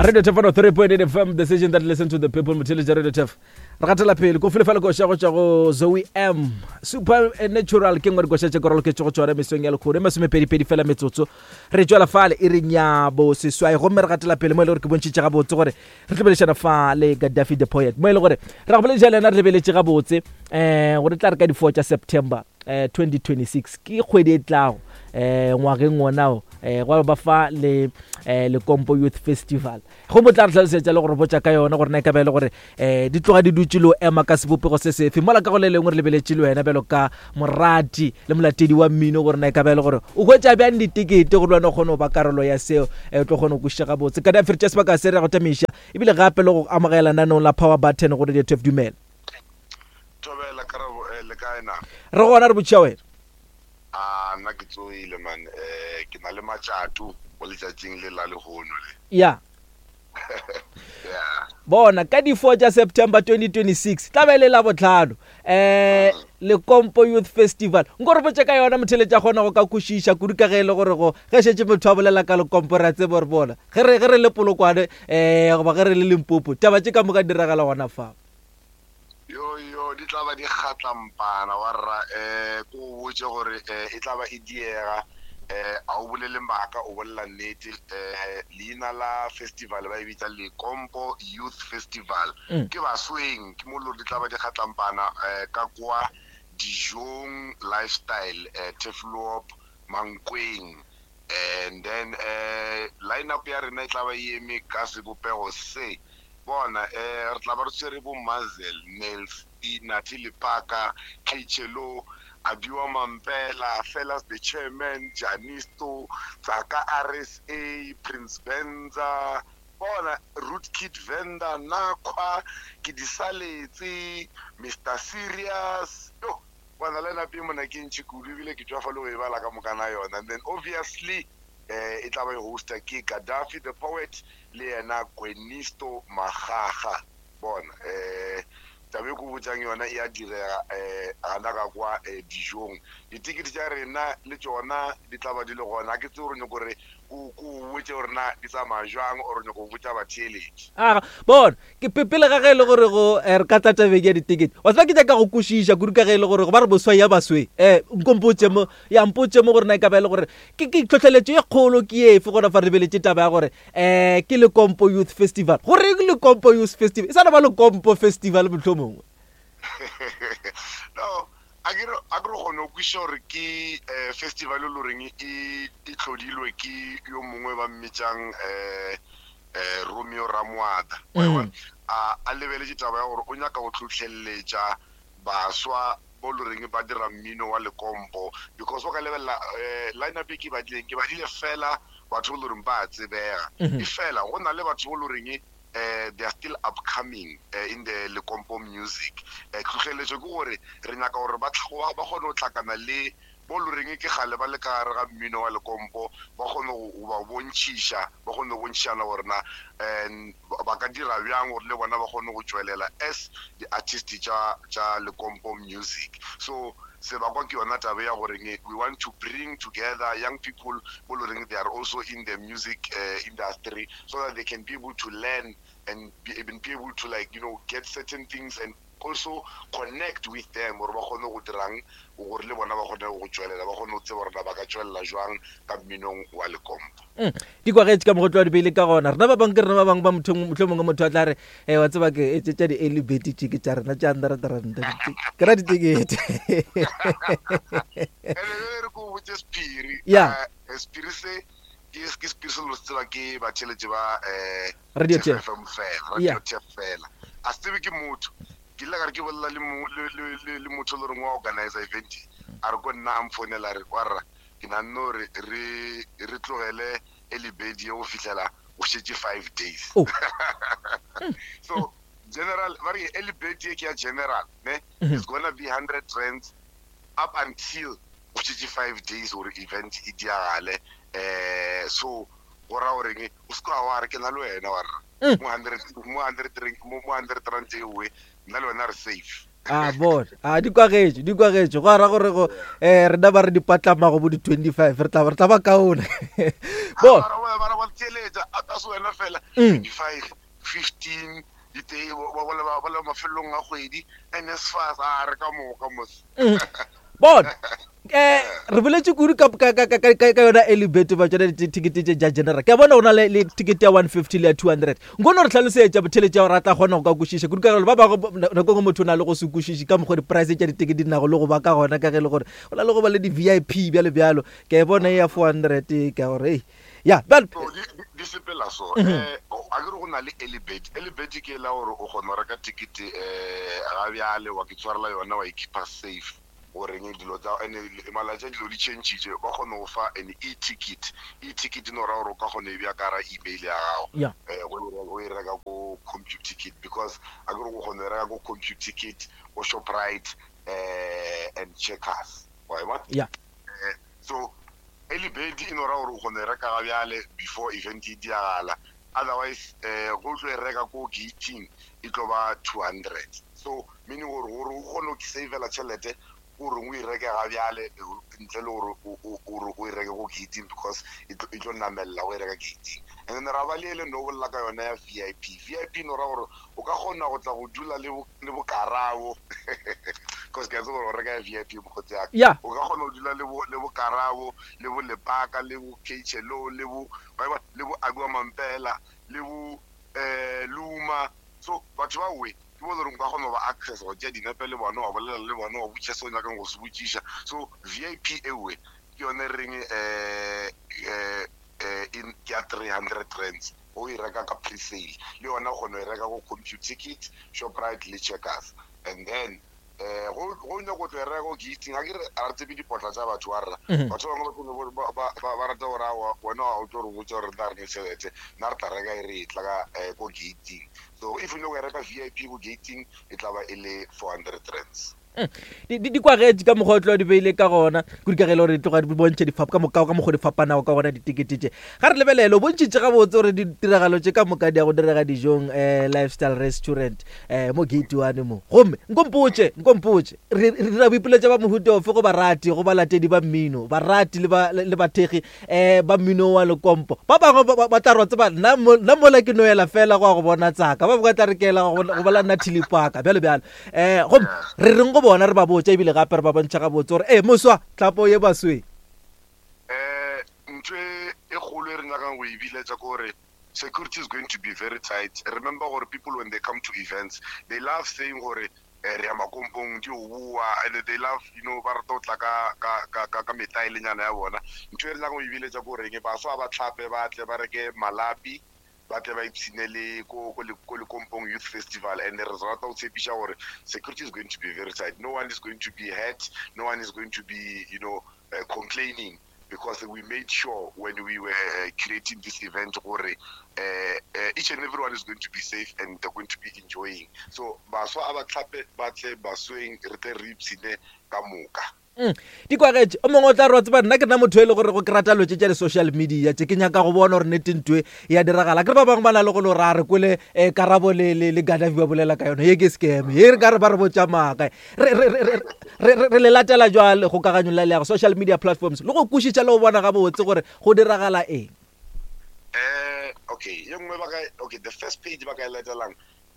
Radio Tef 103.8 FM, the station that listen to the people, motheletša Radio Tef. Re gatela pele, ko fele fela koša go tšwa go Zoe M. Super Natural ke nngwe dikoša tše koroloketše go tšona mesong ya lekgono e masomepedipedi fela metsotso. Re tšwela fale e re nyabo seswai gomme re gatela pele mo e le gore ke bontšhitše gabotse gore re tlo boledišana fa le Gaddafi the Poet mo e le gore ra go bolediša le yena re lebeletše gabotse um gore tla re ka di-four tša September um 2026 ke kgwedi e tlago um ngwageng wonao um gwa ba fa le um Lekompo Youth Festival go mo tla re hlalosetša le gore botša ka yona gore na e ka ba e le gore um di tloga di dutše le o ema ka sebopego se sefe mola ka go le lengwe re lebeletše le wena bjalo ka morati le molatedi wa mmino gore na e ka ba e le gore o hwetša bjang ditekete gore le wena o kgone go ba karolo ya seo um o tlo kgone go kwešiša gabotse ka dafere tša sebaka se re go tamiša ebile gape le go amogela nanong la power button go radio tf dumela Thobela karabo eh, le kae na? Re gona re botšiša wena. A nna ke tsoile man eh ke na le matšato mo letšatšing le la lehono le. Ya. Yeah. Bona ka di 4 tša September 2026 tla be le la botlhano eh Lekompo Youth Festival. Nko re botše ka yona motheletša kgona go ka kwešiša kudu ka ge e le gore go ge šetše motho a bolela ka Lekompo re a tseba gore bona ge re ge re le Polokwane eh goba ge re le Limpopo taba tše ka moka di diragala gona fa. Yo yo di tla ba di kgatlampana wa rra eh ko o botše gore eh e tla ba e diega eh a o bolele maaka o bolela nnete eh leina la festival ba e bitsa Lekompo Youth Festival mm. ke basweng ke mo lo di tla ba di kgatlampana eh ka kwa dijong lifestyle eh Tefloop Mankweng And then eh line up ya rena e tla ba e eme ka sebopego se. Bona eh re tla ba re tshwere bo Mazel, Nelsie, Nathi Lephaka, Khechelo, Abiwa Mampela, Fellas the Chairman, Janisto, Tsaka RSA, Prince Benza, bona Root Kid Venda, Nakhwa, Ke di saletse, Mister Serious. Yo, Bona line up ye mona ke ntši kudu ebile ke tšwafa le go e bala ka mokana yona. And then obviously eh, e tla ba e hosta ke Gaddafi the poet le yena Gwenisto Magaga. Bona eh, taba e ko botsang yona e a direga eh, gana ka kwa eh, dijong. Ditikete tša rena le tšona di tla ba di le gona. Ga ke tsebe gore nyoko re ko ko botse gore na di tsamaya jwang or nyoko botša batheeletši. Aga, bona Ke pe pele ga ge e le gore go eh, re ka tla tabeng ya ditekete. Wa tseba ke nyaka go kwešiša kudu ka ge e le gore go ba re boswa ya baswe. Eh, nko mpotše mo, ya mpotše mo gore na e ka ba e le gore ke ke tlhohleletšo ye kgolo ke efe gona fa re lebeletše taba ya gore eh ke Lekompo Youth Festival. Goreng Lekompo Youth Festival? E sa no ba Lekompo Festival mohlomongwe. No, a ke re a ke re kgone go kwešiša gore ke eh, festival e le goreng e e tlhodilwe ke yo mongwe ba mmitšang eh eh, Romeo Ramoata wa e bona? A a lebeletše taba ya gore o nyaka go hlohleletša baswa bo le reng ba dira mmino wa lekompo because o ka lebelela eh, line up e ke badileng ke badile fela batho bo le reng ba a tsebega e fela go na le batho bo le reng eh, they are still upcoming eh, in the lekompo music eh, tlhohleletšo ke gore re nyaka gore ba tlha- ba kgone go hlakana le bo lo reng ke kgale ba le ka gare ga mmino wa lekompo, ba kgone go ba bontšhiša, ba kgone go bontšhišana gore na um ba ka dira bjang gore le bona ba kgone go tšwelela as di-artist tša, tša lekompo music. So sebakwa ke yona taba ya gore we want to bring together young people bo lo reng they are also in the music uh, industry so that they can be able to learn and be, be able to like you know get certain things and also connect with them gore ba kgone go dirang gore le bona ba kgone go tšwelela ba kgone go tseba gore na ba ka tšwelela jwang ka mminong wa lekompo. Mm. Di kwagetše ka mogotlo wa dibele ka gona rena ba bangwe ke rena ba bangwe ba motho mohlomongwe motho a tla re e wa tseba ke e tša di-early bird tše ke tša rena tša hundred rand ke ra ditekete ene re ko botse sephiri ya eh, sephiri se ke ke sephiri se lo se tseba ke batheletše ba um Radio Tef Tef. FM fela Yeah. Radio Tef fela a se tsebe ke motho ke ile ka re ke bolela le mo- le- le- le- le motho e le goreng wa organizer event a re ko nna a mfounela a re warra ke nanne gore re re tlogele elibedi ye go fihlela go šetše 5 days Oh. so general ba re early bird ye ke ya general ne it's gonna be 100 rands up until go šetše 5 days gore event e diagale um so go ra goreng o se ka wa re ke na le wena wa rra mm. mo 100 mo 100 mo 100 rand ewe nna le wena re safe a bona a di kwagetše di kwagetše go ara gore go um rena ba re di patlamago bo di-25 re tla ba kaone bona theeletša a ta se wena fela 25 15 ditee ba bolela ba bolela mafelelong a kgwedi NSFAS a re ka moka mos Bona eh re boletše kudu ka ka ka ka ka yona early bird ba tsona dithekete tše tša general ke a bona go na le le ticket ya 150 le ya 200 nkono re tlhalosetša botheletša gore a tla kgona go ka kwešiša kudu ka gore ba bangwe nako nngwe motho o na le go se kwešiše ka mokgwa di-price tša ditekete di nago le go ba ka gona ka ge e le gore go na le go ba le di-vip bjalo bjalo ke a e bona e ya 400 ka gore ei ya bjale So, di, di, di sepela so eh a ke re go na le early bird early bird ke la gore o kgona go reka ticket eh ga bjale wa ke tshwarela yona wa e keeper safe goreng dilo tsa ene malatsi a dilo di changile ba kgone go fa an e-ticket e-ticket no ra gore o ka kgona e bja ka ra email ya gago Yeah. eh o e o e reka ko computicket because a ke re o kgona go e reka ko computicket ko shoprite eh and checkers wa e bona ya Eh, so early bird e no ra gore o kgona e reka ga bjale before event e diagala otherwise eh go tlo e reka ko gating e tlo ba 200 so meaning gore gore o kgone go savela tšhelete gore o e reke ga bjale eh, ntle le gore o o e reke ko gating because e tlo e tlo namelela o e reka gating and then ra ba le ele no bolela ka yona ya vip vip no ra gore o ka kgona go tla go dula le bo le bokarabo cause ke a tseba gore o reka ya vip mokgotsi yaka Yeah. o ka kgona go dula le bo le bokarabo le bo lepaka le bo khlo le bo wa e bona, le bo abiwa mampela le bo um luma so batho ba we ke bo le gore o ka kgona go ba access go tšea dinepe le bona wa bolela le bona wa botšiša se o nyakang go se botšiša so vip ewe ke yone re reng um um ke ya 300 rands o e reka ka pre-sale le yona o kgona go e reka go computicket shoprite le checkers and then um go go nyako tlo e reka ko gating ga ke re a re tsebe dipotla tša batho wa rra batho ba bangwe ba ba ba ba rata gore aowa wena o tlo re botša gore nna re ne tšhelete nna re tla reka e re e tla ka eh, ko gating so if o nyako e reka vip ko gating e tla ba e le 400 rands Di, di, di kwagetše ka mokgwa o tlo di beile ka gona kudu ka ge e le gore di tloga di bontšha difap ka moka ka mokgwa di fapanago ka gona ditekete tše ga re lebelele o bontšhitše gabotse gore ditiragalo tše ka moka di ya go direga dijong um lifestyle restaurant um mo gate one mo gomme nkompotše nkompotše re re dira boipiletša ba mohuta ofe go barati go balatedi ba mmino barati le ba le bathekgi um ba mmino wa lekompo ba bangwe ba- ba ba tla re wa tseba nna mo- nna mola ke no ela fela go ya go bona tsaka ba bangwe ba tla re ke ela go bona- go bola nna thilipaka bjalo bjalo um gomme re reng go bona re ba botša ebile gape re ba bontšha gabotse gore ee moswa tlhapo ye basweng um ntho e e kgolo e re nyakang go e biletša ke gore security is going to be very tight remember gore people when they come to events they love saying gore eh, re ya makompong di o boa and they love you know ba rata go tla ka ka ka ka ka metaelenyana ya bona ntho e re nyakang go e biletša ke goreng baswa ba tlhape ba tle ba reke malapi ba tle ba ipshine le ko ko ko Lekompong Youth Festival and re rata go tshepiša gore security is going to be very tight no one is going to be hurt no one is going to be you know uh, complaining because we made sure when we were uh, creating this event gore uh, uh, each and everyone is going to be safe and they're going to be enjoying so baswa a ba tlhape ba tle basweng re tle re ipshine ka moka Mm. Di kwagetše. O mongwe o tla re wa tseba nna ke nna motho e le gore go ke rata lotše tša di-social media tše ke nyaka go bona gore nnete ntwe ya diragala. Ke re ba bangwe ba na le go no ra re kwele eh, Karabo le, le, le Gaddafi ba bolela ka yona ye ke scam ye re ka re ba re botša maaka. Re, re, re, re, re, re, re le latela jwale kgokaganyo la leago social media platforms le go kwešiša le go bona gabotse gore go diragala eng. Eh, okay ye nngwe ba ka okay the first page ba ka e latelang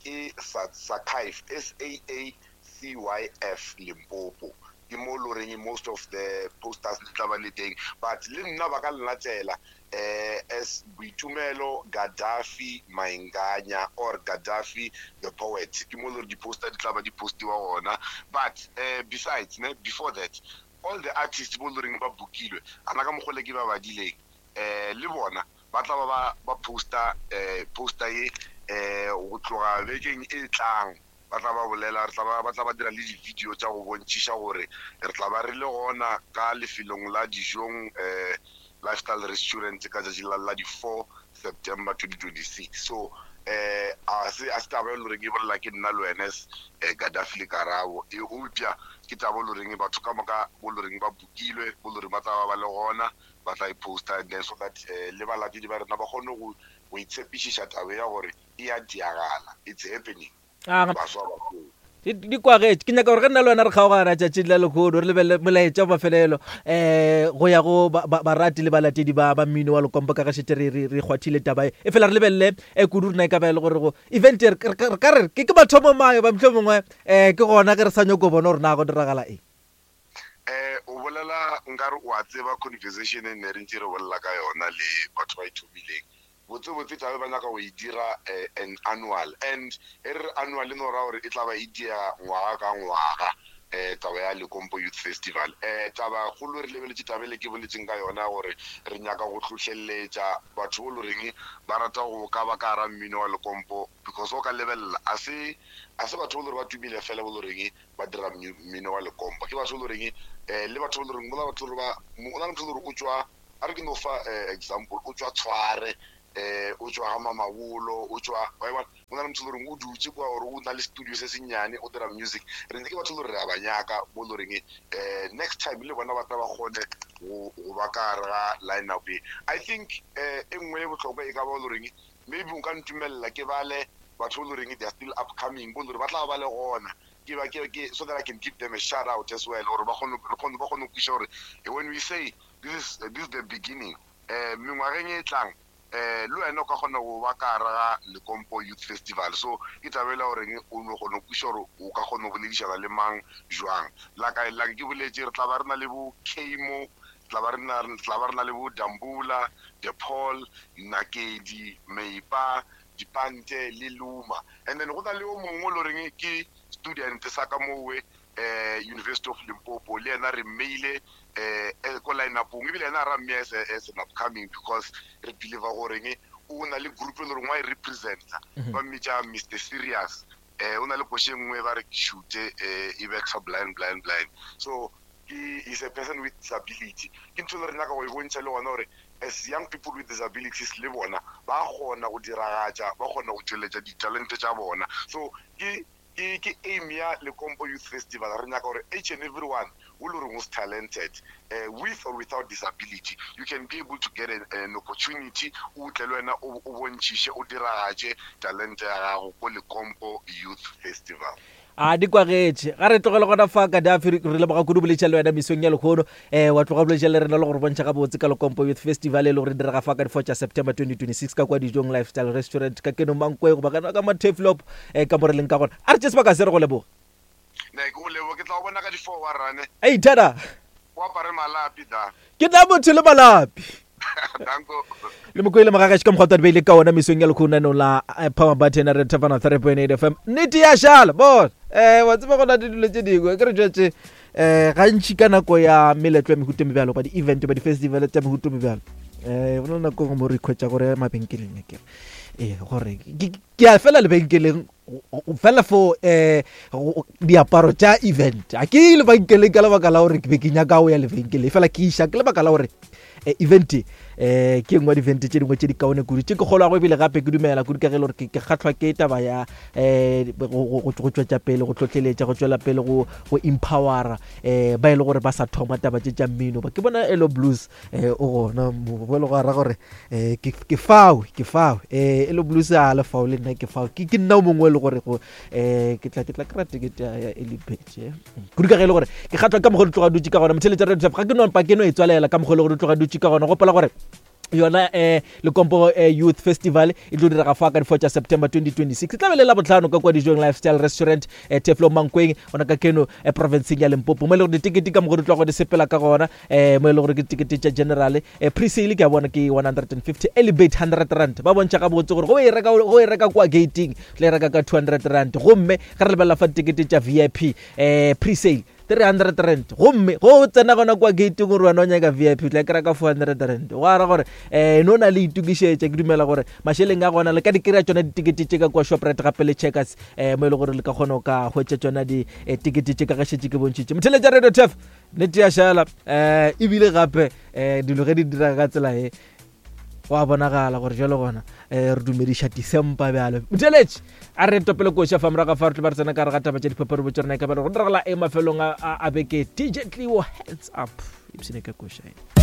ke sa Sacyf S A A C Y F Limpopo ke mo lo reng most of the posters di tla ba le teng but le nna ba ka nlatela eh as Boitumelo Gaddafi Mainganya or Gaddafi the poet ke mo lo re di-poster di tla ba di postiwa gona but eh besides ne before that all the artists bo lo reng ba bookilwe ana ka mokgwa le ke ba badileng eh le bona ba tla ba ba ba poster eh poster ye eh go tloga bekeng e tlang Ba tla ba bolela, re tla ba, ba tla ba dira le di-video tša go bontšhiša gore re tla ba re le gona ka lefelong la Dijong eh, Lifestyle Restaurant ka tšatši la, la di-4 September 2026. So eh, a se, a se taba e le goreng e bolela ke nna le wena eh, Gaddafi le Karabo, e eupša ke taba e le goreng batho ka moka bo le goreng ba bukilwe, bo le goreng ba tla ba ba le gona, ba tla e poster and then so that eh, le balatedi ba rena ba kgone go, go itshepišiša taba ya gore e a diagala, it's happening. Ah, Baswa ba koo. Di kwagetše. Ke nyaka gore ge nna le wena re kgaogana tšatšing la lehono, re lebelele molaetša wa mafelelo um go ya go barati le balatedi ba ba mmino wa Lekompo, ka ge šetše re re re kgwathile taba e. Efela re lebelele um kudu rena e ka ba e le gore go event e re ka re ke ke mathomo mayo ba mohlomongwe um ke gona ge re sa nyako bona gore na go diragala eng. Um o bolela nkare o a tseba conversation e ne re ntše re bolela ka yona le batho ba e thomileng. Botsebotse tla be ba nyaka go e dira an annual and e re re annual e no ra gore e tla ba e diega ngwaga ka ngwaga taba ya Lekompo Youth Festival. Taba kgolo re lebeletše taba ele ke boletseng ka yona gore re nyaka go hlohleletša batho bo loreng ba rata go ka ba ka gara mmino wa Lekompo because o ka lebelela a se a se batho bo lore ba tumile fela bo loreng ba dira mmino wa Lekompo, ke batho bo loreng le batho bo loreng go na batho ba go na le motho gore o tšwa A re ke no fa example, o tšwa Tshware, o tšwa ga Mamabolo, o tšwa, wa e bona, go na le motho e le goreng o dutše kwa or o na le studio se sennyane o dira music. Re ke batho e le gore re a ba nyaka mo e le goreng next time le bona ba tla ba kgone go ba ka gare ga line up ye. I think e nngwe e bohlokwa e ka ba e le goreng maybe o ka ntumelela ke bale batho ba e le goreng they are still upcoming, bo e le gore ba tla ba le gona ke ba ke ke so that I can give them a shout out as well gore ba kgone re kgone ba kgone go kwešiša gore when we say This is, this is the beginning. Eh, mengwageng e tlang, eh, le wena o ka kgona go ba ka gare ga Lekompo Youth Festival. So, ke taba e la goreng o no kgona go kwešiša gore o ka kgona go boledišana le mang jwang. Like, like ke boletše, re tla ba re na le bo Kamo, tla ba re na, tla ba re na le bo Dambula, De Paul, Nakedi, Meipa, Dipante le Luma. And then go na le o mongwe o le goreng ke student sa ka mowe eh, University of Limpopo, le yena re mmeile eh, eh, ko line-upong, ebile yena ra mmea as, as an upcoming because re believe goreng o na le group e le goreng wa e representa, ba mmitša Mr Serious. Eh, o na le koše nngwe ba re ke shute eh, e bexa blind blind blind, so ke is a person with disability. Ke ntho e le re nyaka go e bontšha le gona gore as young people with disabilities le bona ba kgona go diragatša, ba kgona go tšweletša ditalente tša bona. So ke Ke, ke aim ya Lekompo Youth Festival. Re nyaka gore each and every one o le goreng o talented, with or without disability, you can be able to get an, an opportunity, o tle le wena o, o bontšhiše, o diragatše talente ya gago ko Lekompo Youth Festival. A di kwagetše. Ga re tlogele gona fa, Gaddafi, re leboga kudu boletša le wena mesong ya lehono. Um wa tloga boletša le rena le go re bontšha gabotse ka Lekompo Youth Festival e le gore e direga fa ka di-4 tša September 2026 ka kwa Dijong Lifestyle Restaurant ka Keno Mankwe goba ka ka Matheflop um ka mo re leng ka gona. A re tše sebaka se re go leboga. Ne ke go leboga, ke tla go bona ka di-4 wa rane. Ei thada. O apare malapi da. Ke nna motho le malapi. Danko. Le mokwele mogagaši ka mokgwa twa beile ka ona mesong ya lekhonanong la eh, Power Button re thapana 3.8 FM. Nnete ya šala bona. Eh wa tseba go na le dilo tše dingwe ke re jwetse eh gantši ka nako ya meletlo ya mehuta e mebjalo ba di-event ba di-festival tša mehuta e mebjalo eh go na le nako mo re ikhwetša gore mabenkeleng a kere ee gore ke a fela lebenkeleng fela for eh diaparo tša event a ke lebenkeleng ka lebaka la gore ke be ke nyaka go ya lebenkeleng fela ke iša ke lebaka la gore eh, event eh ke nngwe di-event tše dingwe tše di kaone kudu tše ke kgolwago ebile gape ke dumela kudu ka ge e le gore ke kgahlwa ke taba ya um go tšwetša pele go tlotleletša go tšwela pele go empowera um ba e le gore ba sa thoma taba tše tša mmino ba ke bona elo blues um o gona bo e le go ara gore um ke fao ke fao um elo blues a le fao le nna ke fao ke nna o mongwe e le gore go um ke tla ke tla kry-a tekete ya elipage kudu ka ge e le gore ke kgatlwa ka mokgwa di tloga dutse ka gona motheletša radio ga ke no mpa ke no e tswalela ka mokgwa e le gore di tloga dutse ka gona gopola gore yona eh Lekompo eh, Youth Festival e tlo direga fa ka di 4 tša September 2026 e tla be le la botlhano ka kwa Dijong Lifestyle Restaurant eh, Teflo Mankweng ona ka keno eh, provinceng ya Limpopo mo e le gore ditekete ka mokgwa di tloga di sepela ka gona eh mo e le gore ke ditekete tša general eh, pre-sale ke a bona ke 150 elevate 100 rand ba bontšha gabotse gore go e reka go e reka kwa gating tla e reka ka 200 rand gomme ge re lebelela fa ditekete tša vip eh pre-sale 300 rand gomme go tsena gona kwa gating gore wena o nyaka vip o tla kry-a ka 400 rand go ara gore um no na le itokišetša ke dumela gore mašeleng a gona le ka di kry-a tsona ditekete tše ka kwa shoprite gape le checkers um mo e le gore le ka kgona go ka hwetša tsona ditekete tše ka ge šetše ke bontšhitše motheletša radio tef nnete ya šala um ebile gape um dilo ge di dira ka tsela e go a bonagala gore jalo gona um re dumediša december bjalo motheletše a re topele koša fa morago fa re tlo ba re tsena ka re ga taba tša diphapharibo tša rena e ka ba re go diragala e mafelong a beke dj tleo hands up ipsene ka koša e.